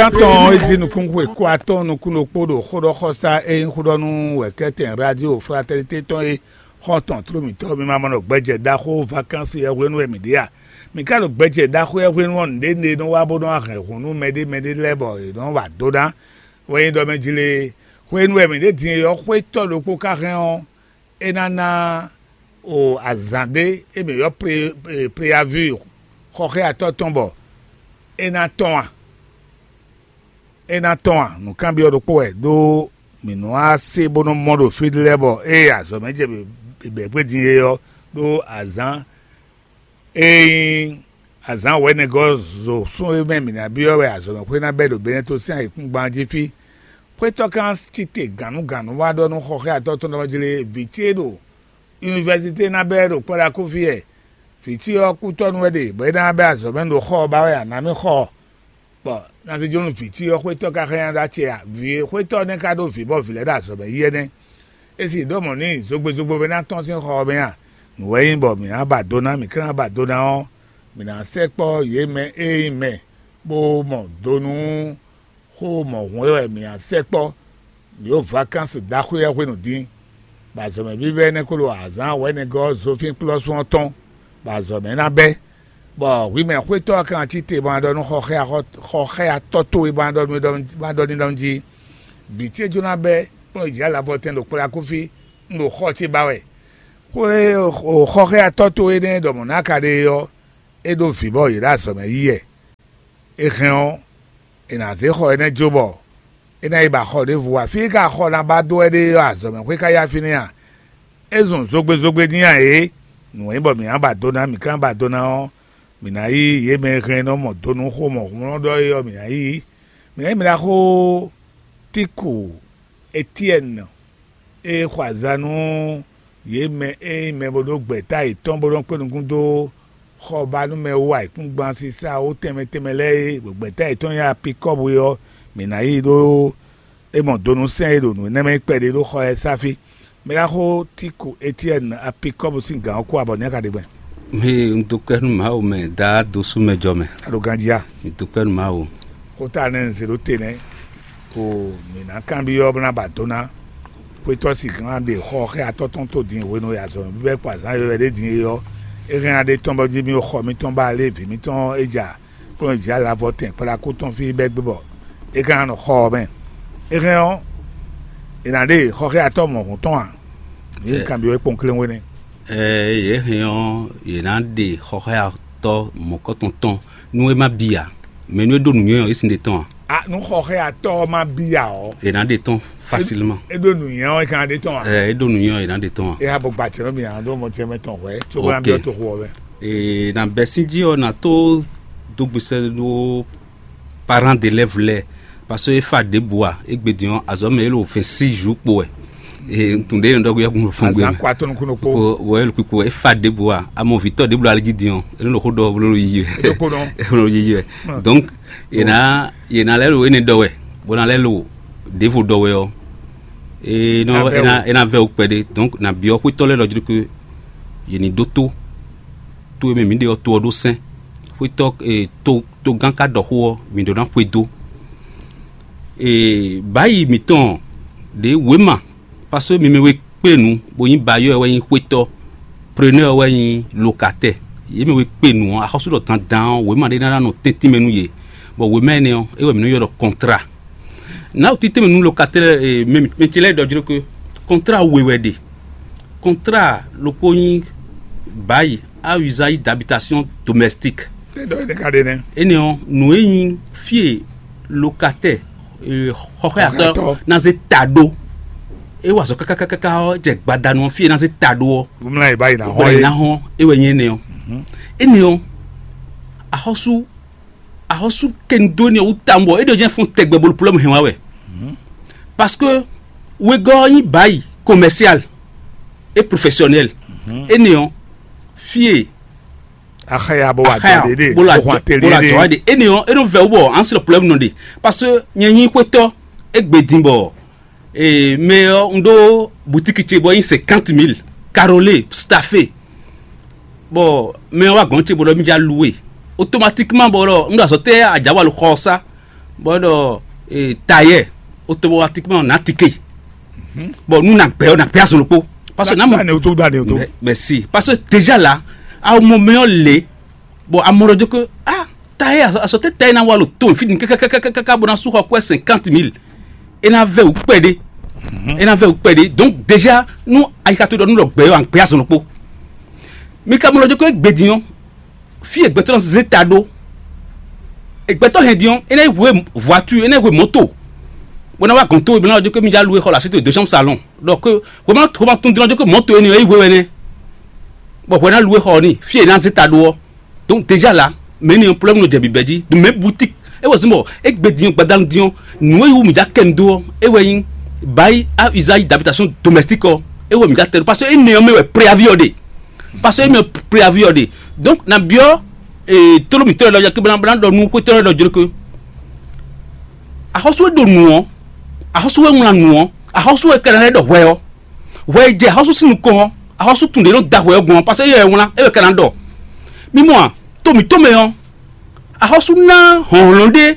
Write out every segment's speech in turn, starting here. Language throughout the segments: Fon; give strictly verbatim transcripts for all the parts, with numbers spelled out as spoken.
Tán tɔn e di nukúnxwe kó atɔ́ nukún ɖokpó ɖo xóɖɔxɔsá e nyí xóɖɔnú wɛ̌kɛ́tɛn Radio Fraternité tɔn é xɔ́ntɔn tló mǐtɔn mi ma mɔ nɔ gbɛjɛ ɖaxó vakansi yɛ hwenu wɛ mǐ ɖe a? Mǐ ka ɖo gbɛjɛ ɖaxó yɛ hwenu ɔ́ nǔɖé nɔ wá bó nɔ́ wá hɛn hǔn nú mɛɖé mɛɖé lɛ́ɛ bɔ yě nɔ́ wa dó ná. Wɛ nyí ɖɔ mɛ jí lé, hwenu wɛ mǐ ɖe din é ɔ́, xwétɔ́ ɖokpó ka hɛn ɔ́, é ná ná o azǎn ɖé e mǐ ylɔ́ préaví xɔxɛ́atɔ́ tɔn bɔ é ná tɔ́n a? É ná tɔ́n a? Nǔkanbyɔ́ ɖokpó wɛ ɖó mǐ nɔ wá se bó nɔ́ mɔ ɖo fí ɖé lɛ́ɛ bɔ ée azɔ̌ mɛ jɛ bɛ̌ gbé din é ɔ́, ɖó azǎn e nyí azǎn wɛ̌nɛgɔ́ zo sún e mɛ mǐ ná byɔ́ wɛ azɔ̌mɛxwé ná bɛ́ ɖo Benɛto sín ayǐkúngban jí fí. Xwétɔ́ kan cí te gǎnnugǎnnu wá ɖɔ nú xɔxɛ́atɔ́ tɔn ɖɔ jlé vǐ ce ɖo univɛsité ná bɛ́ ɖo kpɔ́ɖakúfí wɛ. Vǐ ce ɔ́ kútɔ́ nú wɛ ɖe bɔ é ná bɛ́ azɔ̌ mɛ ɖo xɔ ɔ́ ba wɛ a nǎ mì xɔ ɔ́, bɔ ná zé jó nú vǐ ce ɔ́ xwétɔ́ ka xlɛ́ nya ɖó acɛ a? Vǐ e xwétɔ́ ɔ́ nɛ́ ka ɖó vǐ bɔ vǐ lɛ́ɛ ɖo azɔ̌ mɛ yí ɛnɛ́. É sì ɖó mɔ̌ n'i zogbezogbe ná tɔ́n sín xɔ ɔ́ mɛ a? Nǔ wɛ nyí bɔ mǐ ná ba do ná, mǐ ka ná ba do ná ɔ́, mǐ ná sɛkpɔ́ yě mɛ e nyí mɛ bó mɔ do nú xó mɔ̌hun é wɛ mǐ ná sɛkpɔ́. Mǐ ɖo vakansi ɖaxó ɔ́ hwenu dín, bɔ azɔ̌mɛ vívɛ́ énɛ́ ko ɖo azǎn wɛ̌nɛgɔ́ Zofín kplɔ́sún ɔ́ tɔn, bɔ azɔ̌mɛ ná bɛ́, bɔ hwi mɛ xwétɔ́ ɔ́ kan cí te bɔ a ɖɔ nú xɔxɛ́atɔ́ towe bɔ a ɖɔ n'i ɖɔ jí: Vǐ ce jló ná bɛ́ kplɔ́n yi jǐ alavɔtɛn ɖo kplɔ́ akúfí, un ɖo xɔ ce ba wɛ. Xwé xɔxɛ́atɔ́ towe énɛ́ ɖɔ mɔ̌ ná ka ɖe é ɔ́, é ɖó vǐ bɔ yě ɖo azɔ̌mɛ yí wɛ. É hɛn ɔ́, è nǎ zé xɔ énɛ́ jó bɔ é ná yi ba xɔ ɖěvo ǎ. Fí e ka xɔ ná ba dó wɛ ɖe ɔ́, azɔ̌mɛxwé ka yá fínɛ́ a? É zun zogbezogbe dín a ě? Nǔ e nyí bɔ mǐ ná ba do ná, mǐ ka ná ba do ná ɔ́, mǐ ná yí yě mɛ e hɛn nɔ mɔ do nú xó mɔ̌hunlɔ́n ɖɔ é ɔ́, mǐ ná yí. Mǐ ná yí mǐ ná xó Tíku Etyɛ́ni e xɔ aza nú yě mɛ e nyí mɛ bo ɖó gbɛ̌ta yětɔn bó nɔ́ kpé nukún dó xɔbanúmɛ wú ayǐkúngban sísá wú tɛnmɛ tɛnmɛ lɛ́ɛ é, ɖo gbɛ̌ta yětɔn nyí Apikɔ́bu é ɔ́, mǐ ná yí ɖó é mɔ donúsɛn e ɖo nǔ énɛ́ mɛ kpɛɖé ɖó xɔ ɛ sá fí. Mɛ ná xó Tíku Etyɛ́ni Apikɔ́bu sín gǎn ɔ́ kú abɔ ní a ka ɖe gbɛn. Hé, un dó kpɛ́ nú Mawu mɛ, dá dó sú mɛ jɔ mɛ. A ɖo ganjí a? Un dó kpɛ́ nú Mawu. Xó ta nɛ́ un zě ɖó te nɛ́. O, mǐ ná kanbyɔ́ bó ná ba do ná. Xwétɔ́ sixú ná ɖe xɔ xɛ atɔ́ tɔn tó din hwenu e azɔ̌ bíbɛ́ kpó azǎn yɔywɛ ɖé din é ɔ́, é hɛn ná ɖe tɔn bɔ jí mì xɔ mǐtɔn ba lé vǐ mǐtɔn é ja kplɔ́n jí alavɔ tɛn kplákú tɔn fí bɛ́ gbé bɔ é ka ná nɔ xɔ ɔ́ mɛ. É hɛn ɔ́, è nǎ ɖe xɔ xɛ atɔ́ mɔ̌hun tɔn a? Yě kanbyɔ́ é kpɔ́n kléwé nɛ́. Ɛɛ, yě hɛn ɔ́, yě ná ɖe xɔxɔ́yatɔ́ mɔ̌kɔtɔn tɔn nú é má bi ǎ. Mɛ nú é ɖó nǔnywɛ́ ɔ́, é sin ɖe tɔn ǎ. A nú xɔxɔ́yatɔ́ ɔ́ má bi ǎ ɔ́, È nǎ ɖe tɔn facilement. É ɖó nǔnywɛ́ ɔ́, é ka ná ɖe tɔn ǎ. Ɛɛ, é ɖó nǔnywɛ́ ɔ́, è nǎ ɖe tɔn ǎ. É há bɔ gbacɛ nɔ mi ǎ ɖó mɔ ce mɛ tɔn hwɛ̌, cóbó ná Ok. Byɔ́ toxo ɔ́ mɛ. Ee, na bɛ́ sín jí ɔ́, na tó dó gbesɛ ɖó parent d'élève lɛ́ɛ, parce que é fa ɖěbǔ ǎ, égbé din ɔ́, azɔ̌ mɛ é ɖo vingt-six jours kpo wɛ. Ee, un tunwun ɖě e nɔ ɖɔ gbé yɛ́kun fún gbé Azǎn mɛ. Kó atɔ́ nukún ɖokpó. Kpo, bɔ é ɖo kpikpo, é fa ɖěbǔ ǎ, a mɔ vǐtɔ́ ɖěbǔ ali jí din ɔ́, é nɔ ɖo xó ɖɔ bó nɔ yiyi wɛ. É ɖokpó nɔ. É nɔ ɖo yiyi wɛ. Donc, è nǎ, è nǎ lɛ́ ɖo énɛ́ ɖɔ wɛ, bó ná lɛ́ ɖo ɖěvo ɖɔ wɛ ɔ́, é nɔ, Ná vɛ́ é ná, wú. É ná vɛ́ wú kpɛɖé. Donc, na byɔ́ xwétɔ́ lɛ́ɛ ɖɔ jí ɖɔ que yě ní ɖótó tó e mɛ mǐ ɖe ɔ́, to ɔ́ ɖó sɛ́n. Xwétɔ́, e, to, togán ka ɖɔ xó ɔ́, mǐ ɖó ná xwedó. E, bǎyi mǐtɔn ɖě wěma, parce que mi mɛ we kpé nu, bó nyí bailleurs wɛ nyí xwétɔ́, preneurs wɛ nyí locataires. Yě mɛ we kpé nu ɔ́, axɔ́sú ɖɔ dandan ɔ́, wěma ɖé ná ná nɔ tɛ́ntin mɛ nú yě, bɔ wěma énɛ́ ɔ́, é wɛ mǐ nɔ ylɔ́ ɖɔ contrat. Nǎ wǔ títɛ́nmɛ nú locataire, e, mɛ mɛ ce lɛ́ɛ ɖɔ jló que contrat we wɛ ɖe. Contrat ɖokpó nyí bail à usage d'habitation domestique. Tɛ ɖɔ énɛ́ ka ɖe nɛ́. Énɛ́ ɔ́, nǔ e nyí fí e locataire, e, xɔxɔ́yatɔ́ Xɔxɔ́yatɔ́. Ná zé ta ɖó. É wa azɔ̌ kákákáká ɔ́, jɛ gbadanu ɔ́, fí e ná zé ta ɖó ɔ́. Wúmla yě bá yi ná Bɔ hɔn yě é. Ná hɔn, é wɛ nyí énɛ́ ɔ́. Énɛ́ ɔ́, axɔ́sú, axɔ́sú kɛnudó énɛ́ ɔ́ wú tawun bɔ é ɖɔ jɛ́n fɔ́n tɛgbɛ bolo problème hɛn wá wɛ. Parce que wegɔ́ ɔ́ nyí bail commercial et professionnel. Énɛ́ ɔ́, fí e Axaya bó wa Axaya, jɔ ɖe ɖe, bó la bó jɔ, hɔn tɛlɛ bó la ɖe. Jɔ ɖe. Énɛ́ ɔ́, é nɔ vɛ wú bɔ an srɔ problème nɔ ɖe. Parce que nyɛ nyí xwétɔ́, égbé din bɔ, ee, mɛ ɔ́, un ɖó boutique ce bɔ é nyí cinquante mille, carrelé, staffé. Bɔ mɛ ɔ́ wá gɔ̌n ce bɔ ɖɔ mí já loué. Automatiquement bɔ ɖɔ un ɖo azɔ̌ tɛ ajǎwalu xɔ ɔ́ sá. Bɔ ɖɔ tailleur automatiquement na tike. Bon, nous na gbɛ na gbɛ azɔn kpo. Parce que na mo ne o to da ne o to. Mais si, parce que déjà là, à un moment le, bon, à mon que ah, tailleur, à sauter tailleur na walo ton fini kaka kaka kaka bona su quoi cinquante mille. Et na ve ou pédé. Et na ve ou pédé. Donc déjà nous à y a tout nous le gbɛ en gbɛ azɔn kpo. Mais comme le que gbedion, fí e gbɛtɔ́ nɔ zé ta ɖó. Gbɛtɔ́ hɛn din ɔ́, é ná yi hwe voiture, é ná yi hwe mɔ̌to. Bó ná wá gɔn tó, bó ná wá jó ké mi já lu e xɔ la sito deux chambres salon. Donc hwema hwema tún din ɔ́ jó ké mɔ̌to énɛ́ é yi hwe wɛ nɛ́. Bɔ hwɛ ná lu e xɔ ɔ́ n'i fí e ná zé ta ɖó ɔ́. Donc déjà là, mɛ ni ɔ́ problème nɔ jɛ bǐbɛ́ jí. Donc mɛ boutique é wɛ zɔn bɔ é gbe din ɔ́ gbadanu din ɔ́, nǔ e wú mi já kɛ nu dó ɔ́, é wɛ nyí bail à usage d'habitation domestique ɔ́, é wɛ mi já tɛ ɖó parce que énɛ́ ɔ́ mɛ wɛ préavis ɔ́ ɖe. Parce que émi ɔ préavis ɔ́ ɖe. Donc na biɔ tolo mitɔ lɔ yɛ kébé na ɖɔ nu xwetɔ lɔ jló ke. Axɔ́sú e ɖo nǔ ɔ́, axɔ́sú e wlán nǔ ɔ́, axɔ́sú e kɛnɛ lɛ ɖɔ hwɛ ɔ́, hwɛ e jɛ axɔ́sú sín nukɔn ɔ́, axɔ́sú tun ɖě nɔ da hwɛ ɔ́ gbɔn ɔ́, parce que yɛ wlán é wɛ kɛnɛ ɖɔ. Mi mɔ a, to mitɔ mɛ ɔ́, axɔ́sú ná hlɔ̌nhlɔ́n ɖé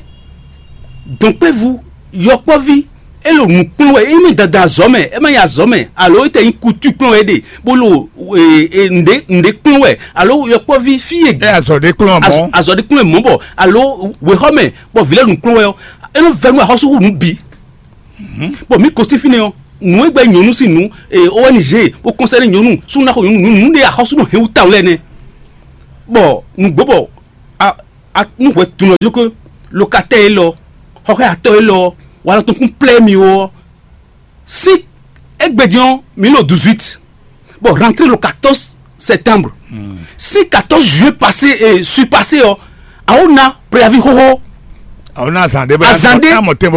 dɔ̌nkpɛ́vú, yɔkpɔ́ví, é ɖo nǔ kplɔ́n wɛ, é mɛ dada azɔ̌ mɛ, é má nyí azɔ̌ mɛ, alo é tɛ nyí kutu kplɔ́n wɛ é ɖe, bó ɖo nǔɖé nǔɖé kplɔ́n wɛ, alo yɔkpɔ́ví fí e ɛ azɔ ɖe kplɔn mɔ azɔ̌ ɖé kplɔ́n wɛ mɔ̌ bɔ, alo wěxɔ mɛ bɔ vǐ lɛ́ɛ nǔ kplɔ́n wɛ ɔ́, é nɔ vɛ́ nú axɔ́sú hú nǔ bǐ. Bɔ mǐ gosín fínɛ́ ɔ́, nǔ e gbɛ́ nyɔ̌nu sín nǔ, O N G bó kɔnsɛ́ nyɔ̌nu, súnnu ná xo nyɔ̌nu, nǔ nú ɖe axɔ́sú nɔ hɛn wú tawun lɛ́ɛ nɛ́. Bɔ nǔgbó bɔ a a nú hwɛ tunɔ jó ké, lokatɛ́ élɔ́, xɔxɔ́yatɔ́ élɔ́, walɔ tɔn kún plɛ́ mi ó ɔ́, sí égbé din ɔ́, mǐ ɖo dix-huit, bɔ rentrée le quatorze septembre. Si quatorze juillet passé et suis passé ɔ́, awo na préavis xóxó. Awo na azan ɖé bɔ Azan ɖé. Amɔ tɛn bɔ